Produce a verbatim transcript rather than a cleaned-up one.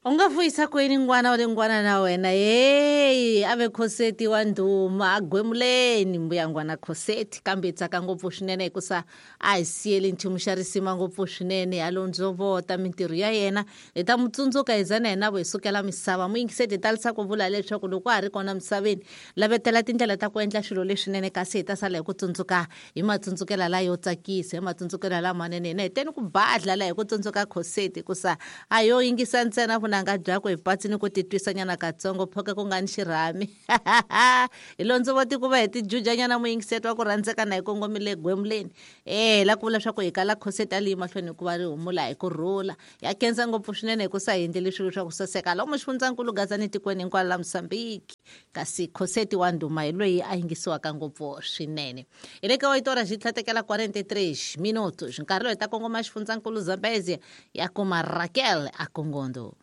U nga vuyisa kwini ngwana wa le ngwana na wena heyi a ve Khoseti wa ndhuma a gwemuleni mbuya ngwana Khoseti, kambe hi tsaka ngopfu swinene hikusa a hi siyeli nchumu xa risima ngopfu swinene ya londzovota mintirho ya yena. Hi ta mu tsundzuka hi za na hina vo hi sukela misava. Muyingiseti, hi talisa ku vula leswaku loko a ha ri kona misaveni, lavetela tindlela ta ku endla swilo leswinene, kasi hi ta sala hi ku tsundzuka hi matsundzukela la yo tsakisa, hi matsundzukela lamanene. Hina hi teni ku badla la hi ku tsundzuka Khoseti, hikusa a yo yingisa ntsena vunanga byakwe hi patsini ku titwisanyana katsongo phoke ku nga ni xirhami. Hi londzovoti ku va hi tijujanyana. Muyingiseti wa ku rhandzeka, na hi kongomile gwemuleni e la ku vula swa ku hi kala Khoseti a li mahlweni hikuva ri humula hi ku rhula. Ya khensa ngopfu swinene hikusa hi endleli swilo swa ku saseka lomu xifundzankulu Gazani, tikweni hinkwalo la Mosambiki. Kasi Khoseti wa ndhuma hi loyi a yingisiwaka ngopfu swinene. Hi le ka oito horas xi tlhatekela quarenta e três minutos, nkarhi lowu hi ta kongoma xifundzankulu Zambezia, ya kuma Raquel a Kongondo.